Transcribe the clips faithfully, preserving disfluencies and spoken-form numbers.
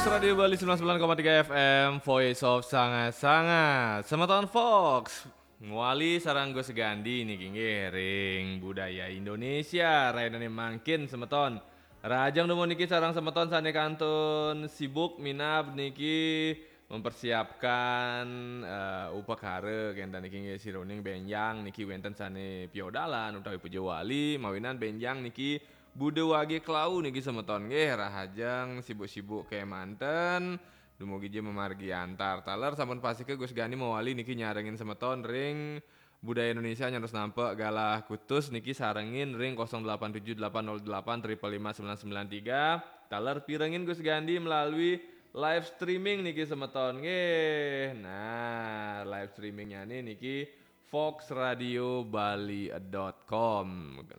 Radio Bali sembilan sembilan koma tiga F M, Voice of Sanga-Sanga. Semeton Fox, nguali sareng Gus Gandi niki nggih ring budaya Indonesia. Rainane mangkin semeton. Rahajeng dumun niki sareng semeton sane kantun sibuk minab niki mempersiapkan eh, upakara kenten niki nggih siruning benjang niki wenten sane piodalan utawi puja wali mawinan benjang niki Buda wage klau niki semeton nggih rahajeng sibuk-sibuk kemanten dumugi je memargi antar. Taler sampun pasike Gus Gani mawali niki nyarengin semeton ring budaya Indonesia nyantos nampek galah kutus niki sarengin ring kosong delapan tujuh delapan nol delapan triple lima sembilan sembilan tiga. Taler pirengin Gus Gandi melalui live streaming niki semeton nggih. Nah, live streamingnya niki foxradiobali.com.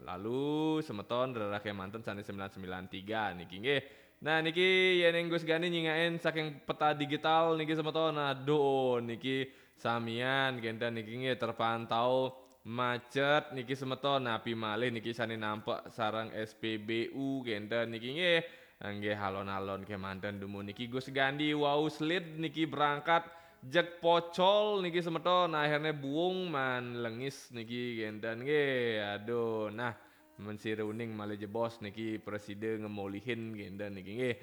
Lalu semeton rerah kemanten sane sembilan sembilan tiga niki nggih. Nah, niki yening Gus Gani nyingakin saking peta digital niki semeton. Aduh, niki samian kenten niki nggih terpantau macet niki semeton, napi malih niki sane nampek sareng S P B U kenten niki nggih. Nggih alon-alon kemanten dumun niki Gus Gandi wau slid niki berangkat jeg pocol niki semeton, akhirnya buung man lengis niki kenten nggih. Aduh, nah mensiruning malih jebos niki preside ngemolihin kenten niki nggih.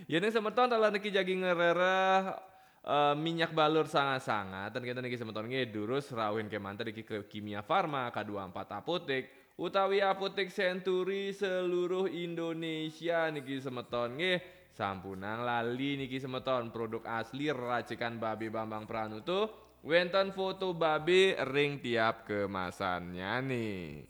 Yening semeton taler niki jagi ngrereh eh, minyak balur sanga-sanga ten kenten niki semeton nggih durus rauhin kemanten niki ke Kimia Farma, K dua puluh empat Apotek utawi Apotek Century seluruh Indonesia niki semeton nggih. Sampunang lali niki semeton produk asli racikan Babe Bambang Pranuto wenten foto babe ring tiap kemasannya nih.